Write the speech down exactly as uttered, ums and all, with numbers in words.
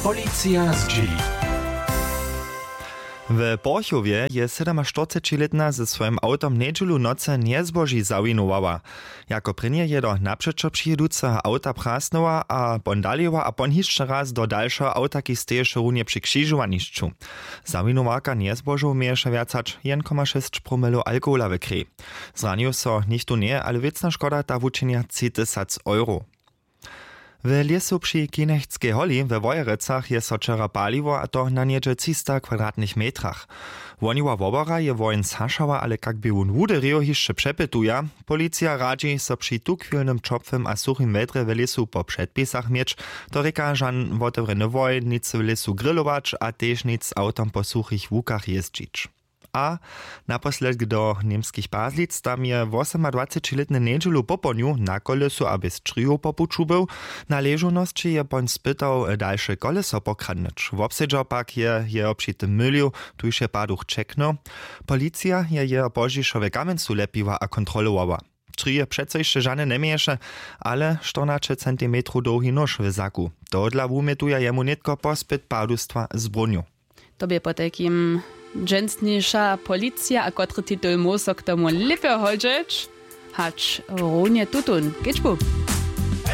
Policija zdźěli. W porchowje je sydomaštyrcećilětna ze swojim awtom njedźelu w nocy njezboži zawinowała. Jako prěnje je do napřećo přijěduceho awta prasnyła a pon daliła a pon hišće raz do dalšeho awta, kiž steješe runje při křižowanišću. Zawinowarka njezbožow měješe wjac hač jedn koma šěsć promilow alkohola w krej. Zranił so nichtó njeje, ale wěcna škoda ta wučinja tři tysac euro. W lěsu při Kinectskej holi we Wojerecach je so wčera paliło, a to na něhdźe třista kwadratnych metrach. Woniła wobora je woheń zhašała, ale kak bě wón wuderěł, hišće přepytuja. Policija radźi, so při tuchwilnym ćopłym a suchim wjedrje w lěsu po předpisach měć, to rěka žan wotewrjeny woheń, nic w lěsu grilować a tež nic z awtom po suchich łukach jězdźić. A naposledk do němskich Pazlic. Tam je wosomadwacećilětny njedźelu popołdnju na kolesu a bjez črijow po puću był. Na ležownosći je pon spytał dalše koleso pokradnyć. Wobsedźał pak je jeho při tym mylił, tuž je paduch ćeknył. Policija je jeho pozdźišo w kamjencu lepiła a kontrolowała. Črije přeco hišće žane njeměješe, ale štyrnaće centimetrow dołhi nóž w zaku. Tohodla wumjetuja jemu nětko pospyt padustwa z brunju. To bě potajkim dźensniša policija, a kotry titul móhł so k tomu lěpje hodźeć hač runje tutón kedźbu.